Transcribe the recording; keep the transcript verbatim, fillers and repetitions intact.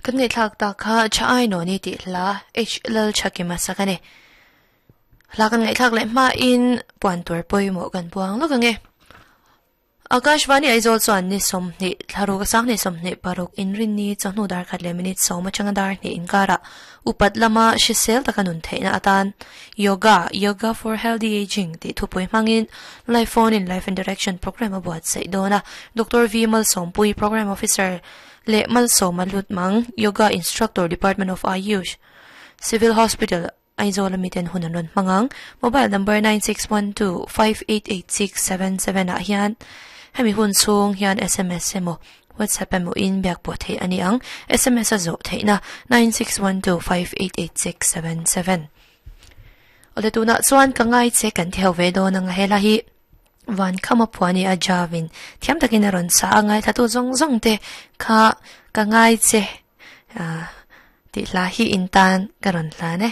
Kan ngai thlak ta kha cha ai no ni ti hla H lal chakima sakane hla kan ngai thlak le ma in puan tur poimo kan puang lo ka nge Akashvani Aizawl chuan ni som ni thlaru ka sang ni som ni paruk inrin ni chawhnu dar khat le minute sawm atanga dar ni inkara upat lama hrisel takanun theihna atan yoga yoga for healthy aging ti thupui hmangin live phone in live interaction program a buat sei dona Dr. V Malsawmpui program officer le Malsawma Lutmang yoga instructor Department of Ayush Civil Hospital Aizawl miten hunan ron hmangang mobile number nine six one two five eight eight six seven seven ah hian hemi hun chung hian SMS emaw WhatsApp emaw in biak pawh theih ani ang SMS a zawh theihna nine six one two five eight eight six seven seven ole tuna chuan ka ngai che kan theu ve dawn anga hela hi van khama phuani a javin thiam takin a rawn sa a ngai thla tu zawng zawng te kha ka ngai che ah ti hla hi in tan ka rawn hlan e.